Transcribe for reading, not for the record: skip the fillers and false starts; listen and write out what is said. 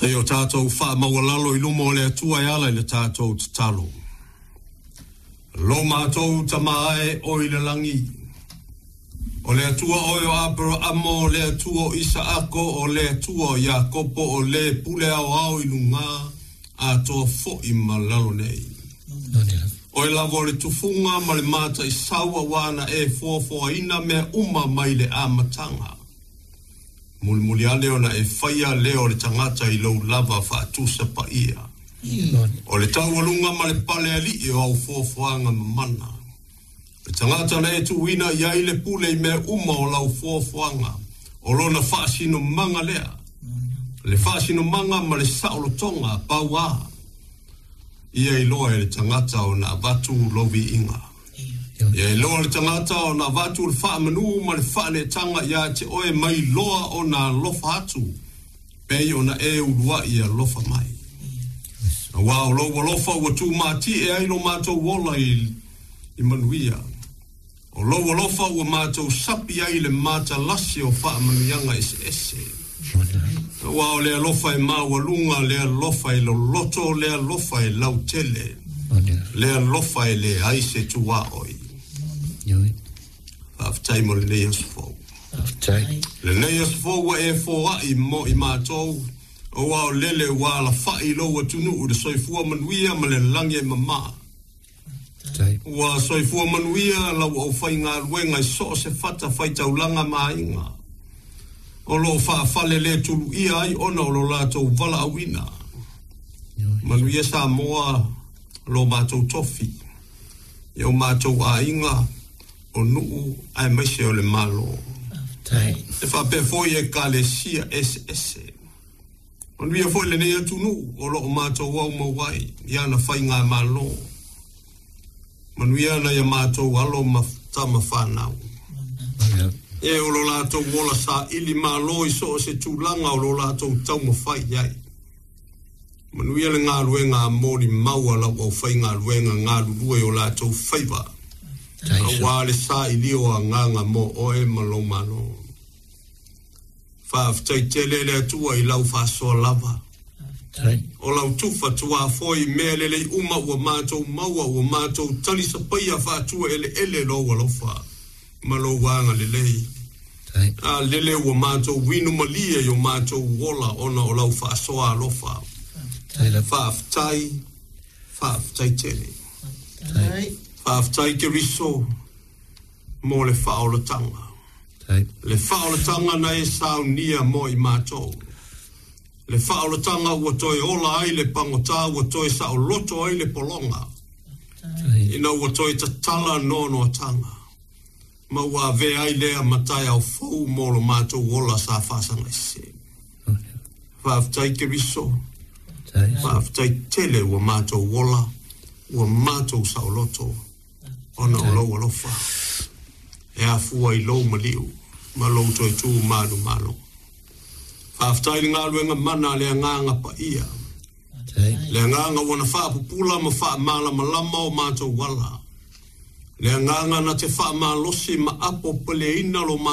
Se i o tatou faamaualalo i luma o le Atua e ala i le tatou tatalo. Lo matou Tama e o i le lagi, o le Atua oe o Aperaamo, o le Atua o Isaako, o le Atua o Iakopo, o le pule aoao i luga, atoa fo'i ma lalo nei. Oe lava o le tufuga ma le mataisau auā na e foafoaina mea uma mai le amataga. Mulimuli ane ona e faia lea o le tagata i lou lava faatusapaia. O le taualuga ma le palealii o au foafoaga mamana. Le tagata na e tuuina i ai le pule i mea uma o lau foafoaga, o lona faasinomaga lea. Le faasinomaga ma le saolotoga pauā. Ia iloa e le tagata ona avatu lou viiga. Ia iloa le tagata ona avatu le faamanu ma le faaneetaga ia te oe mai loa ona alofa atu, pei ona e uluai alofa mai. Auā o lou alofa ua tumatie ai lo matou ola i manuia. O lou alofa ua matou sapi ai le matalasi o faamanuiaga eseese. Auā o le alofa e maualuga, le alofa e loloto, le alofa e lautele, le alofa e leai se tuaoi. Faafetai mo lenei aso fou. Lenei aso fou ua e foai mo i matou, auā o lele ua alafa'i lou atunuu i le soifua manuia ma le lagi e mamā. Ua soifua manuia lau aufaigaluega i so o se fatafaitaulaga ma aiga o loo faafaleletuluia ai ona o lo latou valaauina. Manuia Samoa, lo matou tofi, i o matou aiga, o nuu aemaise o le Malo. E faapea foi ekalesia eseese. Manuia foi lenei atunuu o loo matou aumau ai i ana faigamalo. Manuia nai a matou alo ma tama fanau. E o lo latou ola saili malo i so o se tulaga o lo latou taumafai i ai. Manuia le galuega a molimau a lau aufaigaluega galulue o latou faiva, auā le sailia o agaga mo oe ma lou Malo. Faafetai tele le Atua i lau faasoa lava. O lau tufa tuafoe i mea lelei uma ua matou maua, ua matou talisapaia faatua eleele lou alofa ma lou agalelei. A lele ua matou inu malie i o matou ola ona o lau faasoa alofa. Faafetai, faafetai tele. Faafetai Keriso mo le faaolataga. Le faaolataga na e saunia mo i matou. Le faaolataga ua toe ola ai le pagota, ua toe saoloto ai le pologa. Ina ua toe tatala noanoataga, ma ua avea ai lea ma taeao fou mo lo matou ola sa faasagaese. Faafetai Keriso, faafetai tele ua matou ola, ua matou saoloto ona o lou alofa. E afua i lou maliu ma lou toe tu manumalo. Faafetai i le galuega mana a le Agaga Paia. Le Agaga ua na faapupula ma faamalamalama o matou ala. Le Agaga na te faamalosi ma apopeleina lo matou.